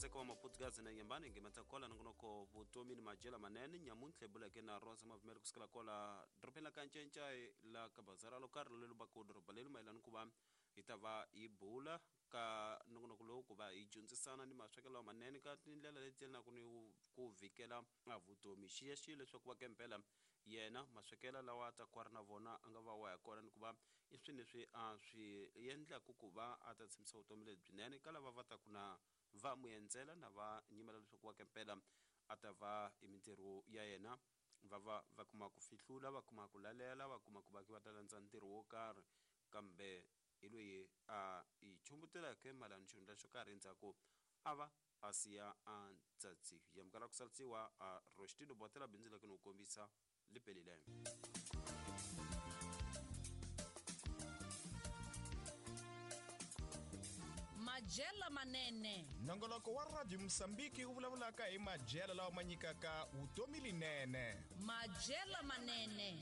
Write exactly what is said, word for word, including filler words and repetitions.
katseka wa Maputugazi na Nyambani ngemata kola nongonoko vutomi ni majela manene nyamuntlha buleke na Rosa Mavumeli kusukela kola dorobeni la Kancencai la ka bazara lo karhi lelu ba ku doroba leli mayelana ku va hi ta va hi bula ka nongonoko lowu ku va hi dyondzisana ni maswekelo lamanene ka tindlela leti yelanaka ni ku vhikela a vutomi. Xiyaxiya leswaku va kempela yena maswekelo lawa a ta ku a ri na vona a nga va wa ya kona ni ku va i swilo leswi a swi endlaku ku va a ta tshembisa vutomi lebyinene ka lava va taku na va n'wi endzela na va nyimela leswaku va kempela a ta va hi mintirho ya yena va va va kuma ku fihlula va kuma ku lalela va kuma ku va va ta landza ntirho wo karhi kambe hi loyi a hi chumbuteleke mayelana xihundla xo karhi endzhaku a va a siya a ntsatsi yamukela ku salisiwa a Rostino Botela bindzu leke ni ku kombisa lipelile. Majela manene. Nongoloko wa Radio Mosambiki wu vulavulaka hi majela lawa ma nyikaka vutomi linene. Majela manene.